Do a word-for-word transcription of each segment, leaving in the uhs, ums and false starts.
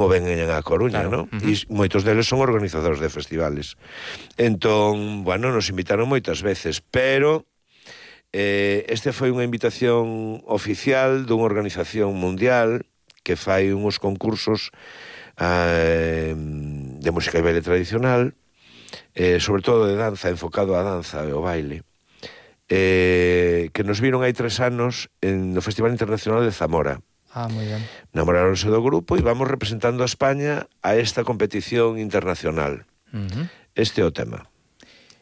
ou veñen a Coruña, Claro. non? Uh-huh. E moitos deles son organizadores de festivales. Entón, bueno, nos invitaron moitas veces, pero eh, este foi unha invitación oficial dunha organización mundial que fai uns concursos eh, de música e baile tradicional, eh, sobre todo de danza, enfocado á danza e ao baile, eh, que nos viron hai tres anos en, no Festival Internacional de Zamora. Ah, moi ben. Namoráronse do grupo e vamos representando a España a esta competición internacional. Uh-huh. Este é o tema.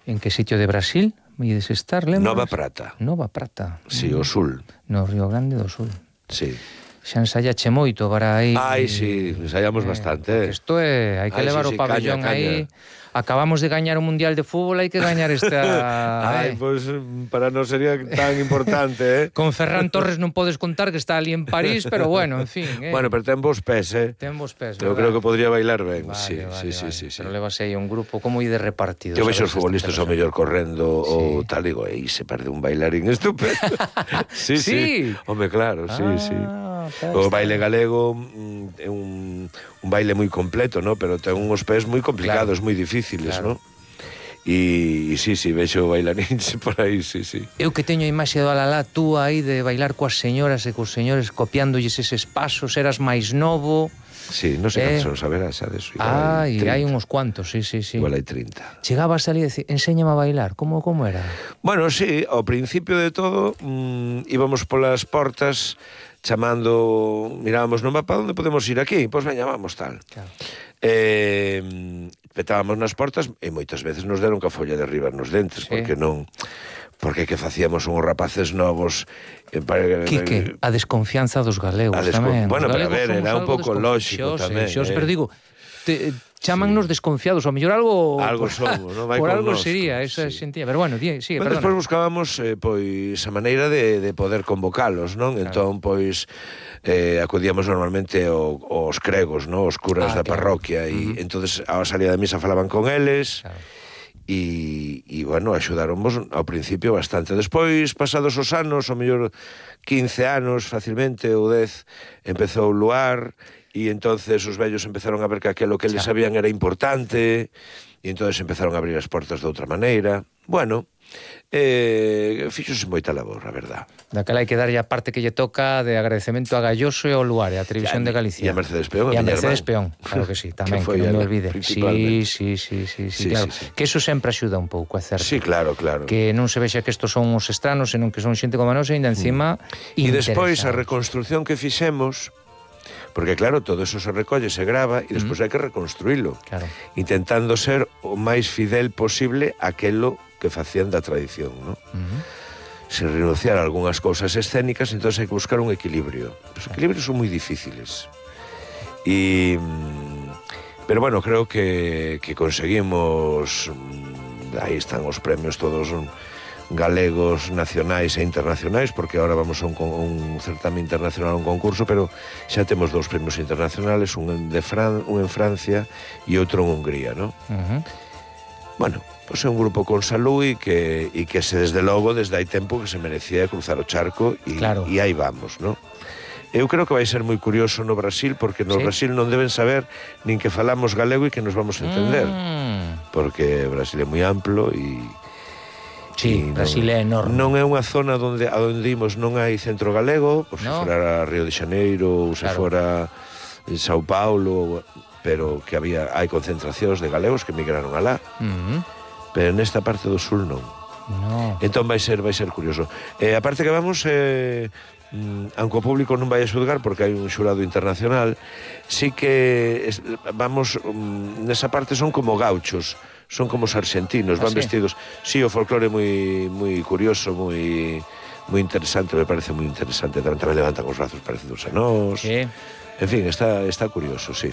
En que sitio de Brasil ides estar, lembras? Nova Prata. Nova Prata. Si, sí, o sul. No Río Grande do Sul. Sí. Xa ensayache moito para aí... Ai, si, sí, ensaiamos eh, bastante. Isto é, hai que Ai, levar sí, o sí, pabellón caña, aí... caña. Acabamos de gañar o Mundial de Fútbol, hai que gañar esta... Ai, eh. pois pues, para non sería tan importante, eh? Con Ferran Torres non podes contar que está ali en París, pero bueno, en fin, eh. Bueno, pero ten vos pés, eh? Ten vos pés, Eu verdad? creo que podría bailar ben, Vale, sí, vale, sí, vale. sí, sí, Pero sí. levas aí un grupo como ide repartido. Eu vexo os sabes, futbolistas ao esta mellor correndo Sí. ou tal, digo, aí se perde un bailarín estupendo. sí, sí, Sí. Home, claro, sí, Ah, sí. está, O está. baile galego mm, é un, un baile moi completo, ¿no? Pero ten uns pés moi complicados, Claro. moi difíciles, Claro. ¿no? E, e sí, sí, vexo bailarins por aí, sí, sí. Eu que teño a imaxe do Alalá, tú aí de bailar coas señoras e cos señores copiándolles eses pasos, eras máis novo. Sí, non sei Eh. cantos son, saberás, xa deso. Ai, hai uns cuantos, sí, sí, sí. Igual hai trinta. Chegabas ali e dicir, enséñame a bailar, como como era? Bueno, sí, ao principio de todo mmm, íbamos polas portas chamando, mirábamos no mapa onde podemos ir aquí, pois veña, vamos tal. Claro. Eh, petábamos nas portas e moitas veces nos deron ca folla de arriba nos dentes, Sí. porque non porque que facíamos uns rapaces novos eh, para, Quique, a desconfianza dos galegos A descon- tamén. bueno, Os pero a galegos ver, somos era un algo pouco lógico desconfiados, tamén, xos, eh. pero digo, te, chamannos desconfiados, ao mellor algo... Algo somos, non? Vai Por con algo nosco, sería, esa sí. sentía. Pero bueno, di, sigue, Bueno, despois perdona. buscábamos eh, pois a maneira de, de poder convocalos, non? Claro. Entón, pois eh, acudíamos normalmente ao, aos cregos, non? Os curas Ah, da claro. parroquia e Uh-huh. entonces a salida da misa falaban con eles. Claro. E, e bueno, axudáronvos ao principio bastante. Despois, pasados os anos, ao mellor quince anos facilmente ou dez, empezou o luar e entonces os vellos empezaron a ver que aquilo que eles Xa. sabían era importante e entonces empezaron a abrir as portas de outra maneira. Bueno, eh, fixose moita labor, a verdad. Daquela hai que darlle a parte que lle toca de agradecemento a Galloso e ao Luar, e a Televisión Ya, de Galicia. e a Mercedes Peón, E a a miña Mercedes irmán. Peón, claro que sí, tamén, Que foi que non me ela, olvide. Sí, principalmente. sí, sí, sí, sí, Sí, claro. sí, sí. Que eso sempre axuda un pouco, é certo. Sí, claro, claro. Que non se vexa que estos son os estranos, senón que son xente como nós e ainda encima E despois a interesados. reconstrucción que fixemos, porque claro, todo eso se recolle, se grava e despois hai que reconstruílo. Claro. Intentando ser o máis fidel posible aquelo que facían da tradición, ¿no? Uh-huh. Se renunciar a algunhas cousas escénicas, entonces hai que buscar un equilibrio. Os equilibrios son moi difíciles. E pero bueno, creo que que conseguimos, aí están os premios todos galegos, nacionais e internacionais, porque ahora vamos a un, un certame internacional, un concurso, pero xa temos dous premios internacionales, un en, de Fran, un en Francia e outro en Hungría, ¿no? Uh-huh. Bueno, pois é un grupo con salud e que, e que se desde logo, desde hai tempo que se merecía cruzar o charco e, Claro. e aí vamos, ¿no? Eu creo que vai ser moi curioso no Brasil, porque no Sí. Brasil non deben saber nin que falamos galego e que nos vamos a entender, Mm. porque Brasil é moi amplo e Sí, e Brasil é enorme. Non é unha zona onde a onde imos non hai centro galego, pois se No. fora Río de Xaneiro ou se Claro. fora Sao Paulo, pero que había hai concentracións de galegos que migraron alá, Uh-huh. pero nesta parte do sul non. No. Entón vai ser vai ser curioso. Eh, a parte que vamos eh, mm, aunque o público non vai a xulgar porque hai un xurado internacional, sí que es, vamos mm, nesa parte son como gauchos, son como os argentinos, Ah, van sí? vestidos. Sí, o folclore moi moi curioso, moi moi interesante, me parece moi interesante. Tamén, tamén levantan os brazos parecidos a nós. Sí. En fin, está está curioso, sí.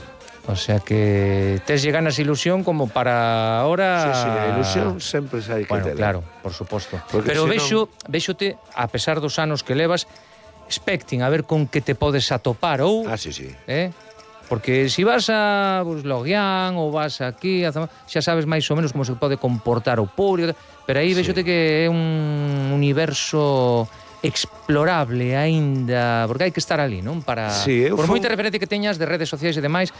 O sea que tes lle ganas ilusión como para ahora... Sí, sí, a ilusión sempre hai que Bueno, tela. claro, por suposto. Porque Pero senón- vexo, vexote, a pesar dos anos que levas, expecting a ver con que te podes atopar ou... Ah, sí, sí. Eh? Porque se si vas a pues, Loguián ou vas aquí, a Zamora, xa sabes máis ou menos como se pode comportar o público, pero aí Sí. vexote que é un universo explorable aínda, porque hai que estar ali, non? Para Sí, eu por fun- moita referencia que teñas de redes sociais e demais,